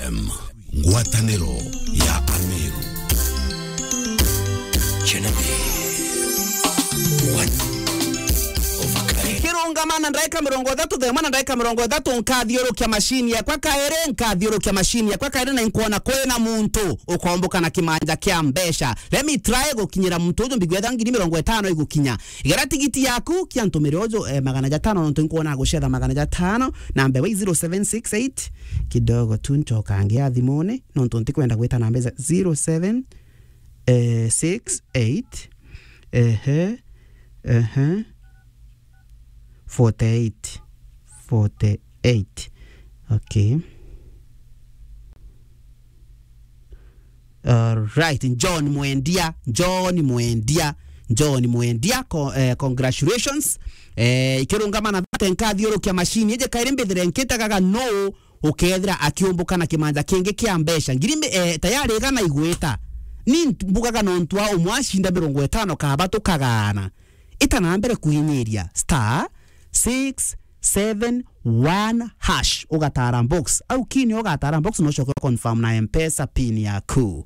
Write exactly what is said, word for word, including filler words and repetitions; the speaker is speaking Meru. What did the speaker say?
M, ngwataniro ya Ameru. Genevieve, one of a kind. Kirungama na ndaika mirongo ithatu, thema na ndaika mirongo ithatu, nkathiurukia mashini yakwa kairi, nkathiurukia mashini yakwa kairi, na inkwona kwina muntu ukomboka na kimanja kia mbeca. Let me try gukinyira muntu uju, mbigwetha ngiri mirongo itano igukinya. Igera tigiti yaku, kia ntumire uju, eh, magana jatano, nontu nkwona gucetha magana jatano, na mbewa i zero seven six eight, kidogo tu ncoka ngia thimune, nontu ntikwenda gwita na mbeca, zero seven, eh, six eight, ehe, ehe, forty eight, forty eight. Okay. Alright, John Mwendia, John Mwendia, John Mwendia, co-, eh, congratulations. Eh, ikirungama na thate nkathiurukia mashini, ije kairi mbithire nkitagaga no ukethira akiumbuka na kimanja kingi kia mbeca. Ngiri mbi-, eh, tayari igana igwita. Ni mbugaga nontu wa umwe acinda mirongo itano kaba tukagaana. Ita na mbere kuinyiria star six seven one hash, ugatara box. Au kini ugatara box, no ucoke confirm na M-Pesa pin yaku.